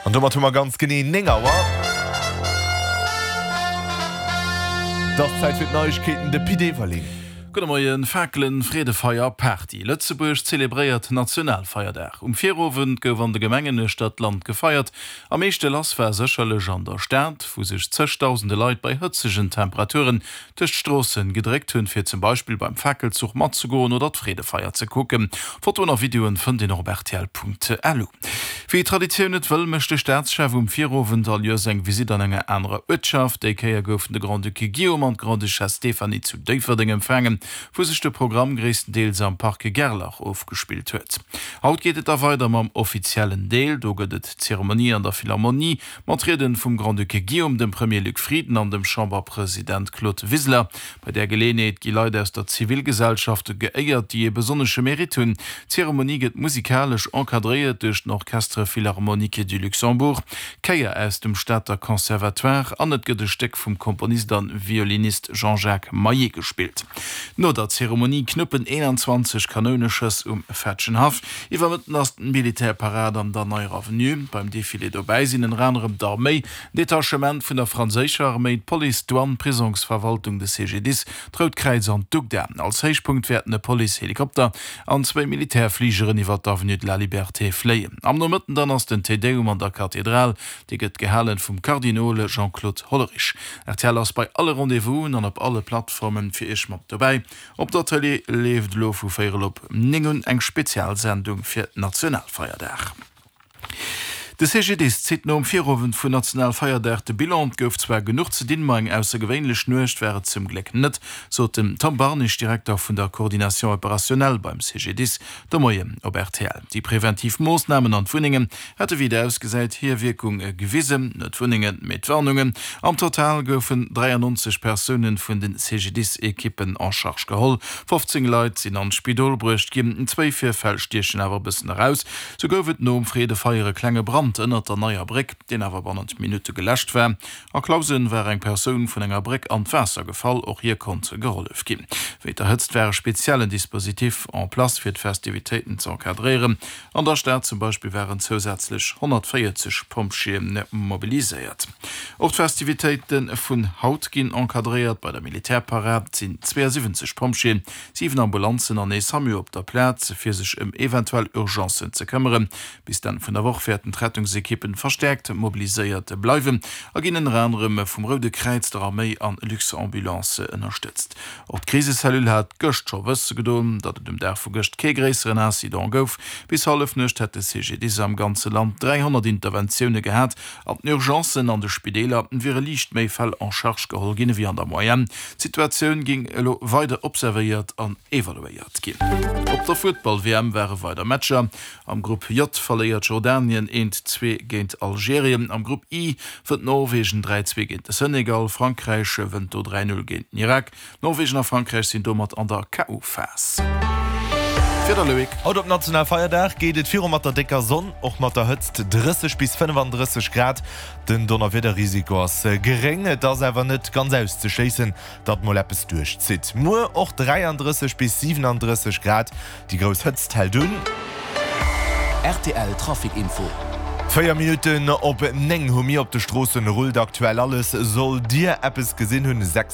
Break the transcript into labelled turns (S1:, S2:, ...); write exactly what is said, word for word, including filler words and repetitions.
S1: An domat hu mer ganz genee néng Auer. Et ass Zäit fir d'Neiegkeeten, de Pit Everling.
S2: Gudde Moien, Fakelen, Freedefeier, Party, Lëtzebuerg zelebréiert Nationalfeierdag. Um Virowend gouf an de Gemengen uechter d'Land gefeiert. Am meeschte lass war sécherlech an der Stad, wou sech zëgdausende Leit bei hëtzegen Temperaturen duerch d'Stroosse gedréckt hunn, fir zum Beispill beim Fakelzuch matzegoen oder d'Freedefeier ze kucken. Fotoen a Videoen fënnt een och op rtl.lu. Wéi d'Traditioun et wëll, mécht de Staatschef um Virowend all Joers eng Visitt an enger anerer Uertschaft. Déi Kéier goufen de Grand-Duc Guillaume an d'Grande-Duchesse Stéphanie zu Déifferdeng empfaangen, wou sech de Programm gréisstendeels am Parc Gerlach ofgespillt huet. Haut geet et da weider mam offiziellen Deel. Do gëtt et d'Zeremonie an der Philharmonie mat Rieden vum Grand-Duc Guillaume, dem Premier Luc Frieden an dem Chamberpresident Claude Wiseler. Bei där Geleeënheet gi Leit aus der Zivilgesellschaft geéiert, déi ee besonnesche Mérite hunn. D'Zeremonie gëtt musikalesch encadréiert duerch den Orchestre Philharmonique du Luxembourg, d'Chéier aus dem Stater Conservatoire an et gëtt e Stéck vum Komponist a Violinist Jean-Jacques Maillet gespillt. No der Zeremonie knuppen eenanzwanzeg Kanouneschëss um Fetschenhaff. Iwwer Mëtten ass d'Militärparad an der Neier Avenue. Beim Defilé dobäi sinn ënner anerem d'Arméi, en Detachement vun der franséischer Arméi, d'Police, d'Douane, d'Prisongsverwaltung, de C G D I S, d'Rout Kräiz an d'UGDA. Als Héichpunkt wäerten e Police-Helikopter an zwéi Militärfligeren iwwer d'Avenue de la Liberté fléien. Am Nomëtten dann ass den Te Deum an der Kathedral. Dee gëtt gehalen vum Kardinol Jean-Claude Hollerich. R T L ass bei alle Rendez-vousen an op alle Plattformen fir iech mat dobäi. Op der Tëlee leeft elo vu véierel op néng un eng Spezialsendung fir Nationalfeierdag. De C G D I S zitt nom Virowend vun Nationalfeierdag de Bilan. Et gouf zwar genuch ze dinn, ma eng aussergewéinlech Nuecht war et zum Gléck net, sot den Tom Barnig, Direkter vun der Coordination opérationnelle beim C G D I S, de Moien op R T L. Déi preventiv Moossnamen an d'Wunnengen hätte wéi et ausgesäit hir Wierkung gewisen. Net d'Wunnengen, mee d'Warnungen. Am Total goufen dräiannonzeg Persoune vun de C G D I S-Ekippen en charge geholl. fofzéng Leit sinn an d'Spidol bruecht ginn. Zwéi Virfäll stiechen awer e bëssen eraus. Sou gouf et nom Freedefeier e klenge Brand ënnert der Neier Bréck, deen awer bannent Minutte geläscht war. A Clausen war eng Persoun vun enger Bréck an d'Waasser gefall, och hir konnt gehollef ginn. Wéint der Hëtzt war e speziellen Dispositif en place fir d'Festivitéiten ze encadréieren. An der Stad zum Beispill waren zousätzlech honnertvéierzeg Pompjeeë mobiliséiert. Och d'Festivitéite vun haut ginn encadréiert. Bei der Militärparad sinn zweeësiwwenzeg Pompjeeën, siwen Ambulanzen an ee SAMU op der Plaz, fir sech ëm eventuell Urgencen ze këmmeren. Bis d'Enn vun der Woch wäerten d'Rettungsekippen verstäerkt mobiliséiert bleiwen a ginn ënner anerem vum Roude Kräiz, der Arméi an Luxambulance ënnerstëtzt. Och d'Krisecellule hat gëscht scho wësse gedoen, datt et um Dag vu gëscht kee gréisseren Incident gouf. Bis Hallefnuecht hätt de C G D I S am ganze Land dräihonnert Interventioune gehat. An den Urgencen an de Spideeler wiere liicht méi Fäll en charge geholl ginn ewéi an der Moyenne. D'Situatioun géing elo weider observéiert an evaluéiert ginn. Op der Futtball-W M ware weider Matcher. Am Grupp J verléiert Jordanien eent, zwee géint Algerien. Am Grupp I wënnt Norwegen dräi, zwee géint de Senegal. Frankräich wënnt do dräi, null géint den Irak. Norwegen a Frankräich sinn domat an der K O. Phas. Wieder, Loïc.
S1: Haut op Nationalfeierdag geet et viru mat der décker Sonn, och mat der Hëtzt, drësseg bis fënnefandrësseg Grad. Den Donnerwiederrisiko ass geréng, et ass awer net ganz auszeschléissen, datt mol eppes duerchzitt. Muer och dräiandrësseg bis siwenandrësseg Grad, déi grouss Hëtzt hält un.
S3: R T L Trafic Info.
S1: Véier Minutten op néng hu mir. Op de Stroossen rullt aktuell alles. Sollt Dir eppes gesinn hunn, sechs